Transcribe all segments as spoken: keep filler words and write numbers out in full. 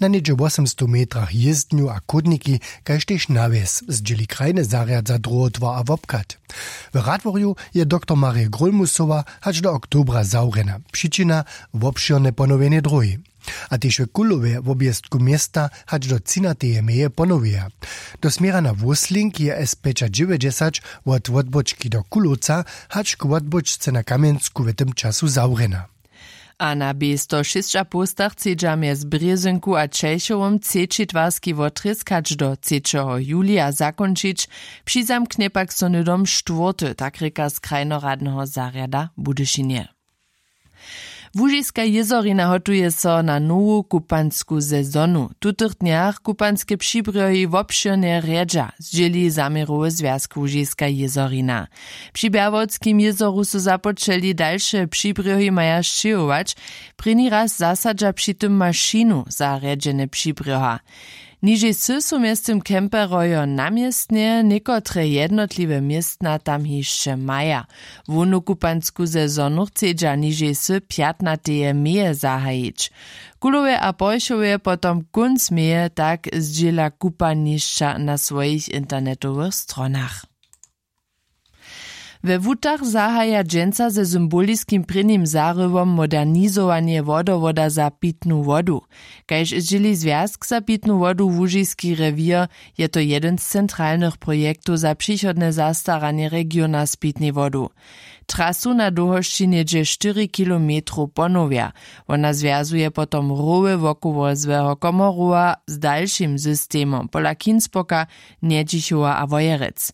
Na něhdźe wosomstow metrach jězdnju a chódniki, kaž tež nawjes, zdźěli krajny zarjad za druhotwar a wobchad. W Radworju je doktor Marje Grólmusowa hač do oktobra zawrjena, přičina: wobšěrne ponowjenje dróhi. A tež w Kulowje wobjeztku města hač do třinateje meje ponowjeja. Do směra na Wósling je S pjećadźewjećdźesać wot wotbóčki do Kulowca hač k wotbóčce na Kamjensku w tym času zawrjena. A na bě sto šěsćapołstach chcedźa mjez Brězynku a Ćelchowom třeći twarski wotrězk hač do třećeho julija zakónčić. Přizamknje pak so hnydom štwórty, tak rěka z krajnoradneho zarjada w Budyšinje. Łužiska jězorina hotuje so na nowu kupansku sezonu. W tutych dnjach kupanske přibrjohi wobšěrnje rjedźa, zdźěli zaměrowy zwjazk Łužiska jězorina. Při Bjerwotskim jězoru su započeli dalše přibrjohi maja sćěhować. Prěni raz zasadźa při tym mašinu za rjedźenje přibrjoha. Nižej sy su mjeztym kemperojo na městnje, někotre jednotliwe městna tam hišće maja. Hłownu kupansku sezonu chcedźa nižej sy pjatnateje meje zahajić. Kulowje a Porchowje potom kónc meje tak zdźěla kupanišća na swojich internetowych stronach. We Wutach zahaja dźensa ze symboliskim prěnim zarywom modernizowanje wodowoda za pitnu wodu. Kaž zdźěli zwjazk za pitnu wodu Łužiski rewěr, je to jedyn z centralnych projektow za přichodne zastaranje regiona z pitnej wodu. Trasu na dołhosći něhdźe štyri kilometrow ponowja. Wona zwjazuje potom rowy wokoło złeho Komorowa z dalšim systemom pola Kinspoka, Njedźichowa a Wojerec.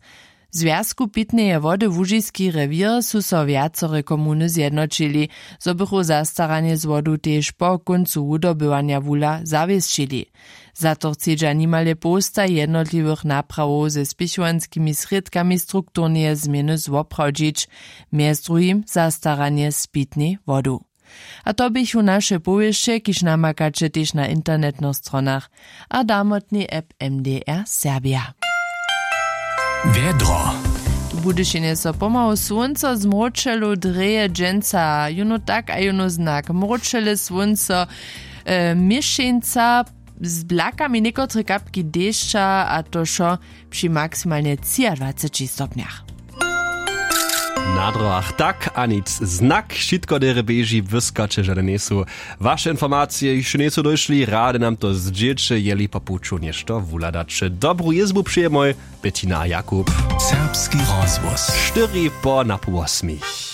W zwjazku pitneje wody Łužiski rewěr su so wjacore komuny zjednoćili, zo bychu zastaranje z wodu tež po kóncu wudobywanja wula zawěsćili. Za to chcedźa nimale połsta jednotliwych naprawow ze spěchowanskimi srědkami strukturneje změny zwoprawdźić, mjez druhim zastaranje z pitnej wodu. A to běchu naše powěsće, kiž namakaće tež na internetnych stronach a damotnej app M D R Serbia. Wjedro. W Budyšinje so pomału słónco zmróčelu, dreje dźensa jónu tak a jónu znak mróčele słónco, e, měšeńca z blakami někotre kapki dešća, a to wšo při maksimalnje třiadwaceći stopnjach. Na drogach tak a nic znak, wšitko derje běži, wyskaće žane njejsu. Waše informacije hišće njejsu dóšli, rady nam to zdźěće, jeli po puću něšto wuhladaće. Dobru jězbu přejemoj, Bettina a Jakub. Serbski rozhłos. Štyri po napoł wosmich.